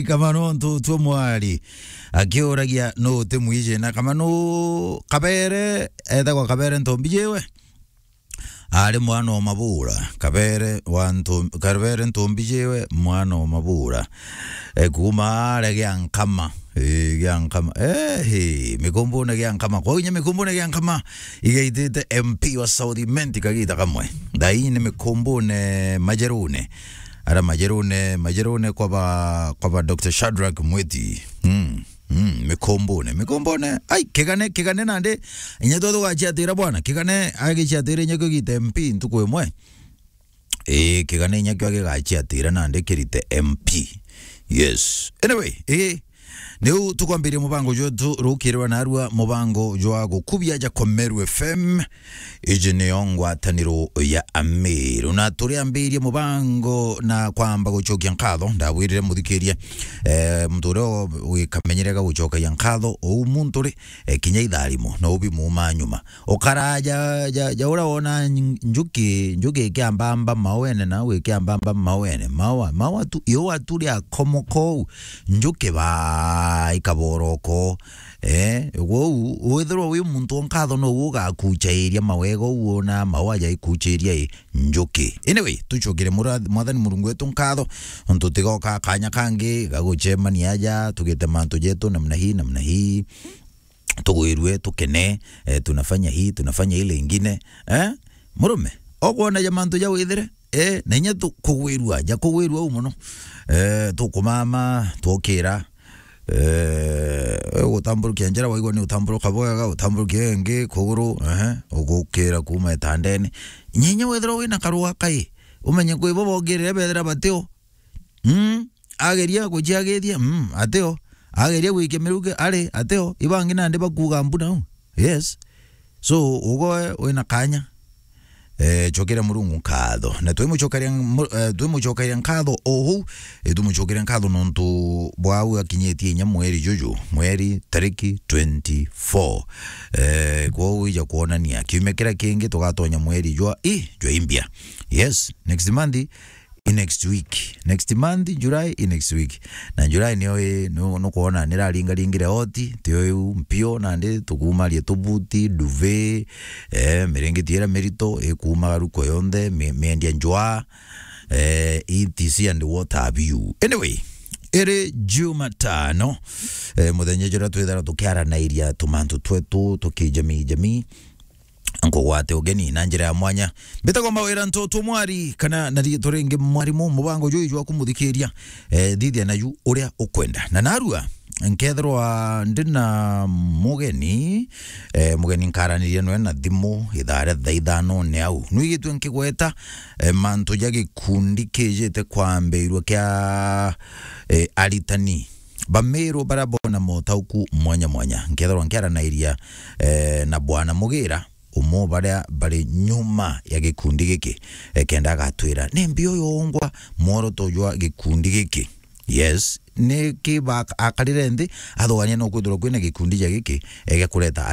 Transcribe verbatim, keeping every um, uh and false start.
Kamano Ntutu Mwari akiuragia nu uti mwiji na Kamano Kabere, etagwa Kabere Ntombi jiwe. Ari mwana o Mabura, Kabere wa Ntu-, Kabere Ntombi jiwe, mwana o Mabura. E, kuma aria gia Nkama. E, gia Nkama. E, he, Mikumbune gia Nkama. Kwa inya Mikumbune gia Nkama, igaitite M P wa South Imenti kagita kamwe. Thaini Mikumbune Majerune. Ara Majerune, Majerune kwa ba, kwa ba Doctor Shadrack Mwiti. Mm. Mm, Mikumbune, Mikumbune. Ai, Kigane, Kigane nandi. Inya tu tugaciatira bwana. Kigane agiciatira inya kugita M P ntuku imwe. Ii, Kigane inya kio gigaciatira nandi kirite M P. Yes. Anyway, ii, niu tukwambiria mubango jwetu rukirwa narua mubango jwa gukubia ja Komeru F M. Iji niyo ngwataniro ya Amiru. Na turiambirie mubango na kwamba gucokia nkatho, ndabwirire muthikiria, eh, muntu uria wikamenyerega gucokagia nkatho, ou muntu ri, eh, kinya itharimo, no ubi muuma nyuma. Ukaraja, ja, ja uria wona njuki, njuki ikiambamba mauene, na ikiambamba mauene, maua, maua tu, iua tu ria komoka ou, njuki ba ikaboroko. Eh, gwou, withirwa wi muntu o nkatho, no ugakuchairia mawega uu wona maua jaikuchairia i njuki. Anyway, tucokere mura-, Mwathani Murungu wetu nkatho, ontu tigoka kanya kangi gagucemania aja, tugite mantu jetu namna hii, namna hii. Tugwirue, tukene, eh, tunafanya hii, tunafanya ile ingine. Eh? Murume, okwona ja mantu ja withire, eh, na inya tu-, kugwirua, ja kugwirua u muno. Eh, tukumama, twokira, eh, ugutamburukia njira, waigua ni utamburuka bwega, utamburukia ingi kuguru, ehe, ugukira kuma itandene. Nyenye wethirwa wina karua kai, umenye kwi bo bongirire bethira batio. Mm, ageria guciagithia, mm, atio. Ageria gwikia miruki, ari, atio. Ibangi nandi bakuga mbu nau. Yes. So, ugoe wina kanya. Eh, cokera Murungu nkatho. Na twimucokeria mu-, eh, twimucokeria nkatho o huu, eh, twimucokeria nkatho nontu bwa au akinyitie inya mweri juju, mweri tariki twenty-four. Eh, kwou ija kwonania kiumia kiria kingi tugatonya mweri jwa i, jwa imbia. Yes, next month i next week. Next month, July, i next week. Na July niyo i, nu-, nukwona niraringaringire oti, tio iu mpio, nandi tukumaria tubuti, duve, eh, miringiti iria mirito, ikumaga ruko yonthe, mi-, miendia njwa, eh, E T C and what have you. Anyway, iri Jumatano, eh, muthenya juria twithara tukiaranairia tumantu twetu tukijamii jamii. Nkugwate ugeni na njira ya mwanya. Mbitagwa Mawira Ntoto Mwari, kana na riitwa ringi Mwarimu. Mubango juju jwa kumuthikiria, eh, thithia naju uria ukwenda. Na narua, nkethirwa ndi na mugeni, eh, mugeni nkaraniria nwe na thimu ithaa ria thaa ithano ni au. Nwigitue nkigweta, eh, mantu ja gikundi kijite kwambirua kia, eh, aritani ba Meru baria bona motauku mwanya mwanya. Nkethirwa nkiaranairia, eh, na Bwana Mugira, umwe baria bari nyuma ya gikundi giki, eh, kenda agatwira ni mbi uyu ungwa mworoto jwa gikundi giki. Yes, niki ba-, akarire nthi, athugania no kwithirwa kwina gikundi ja giki, eh, gia kureta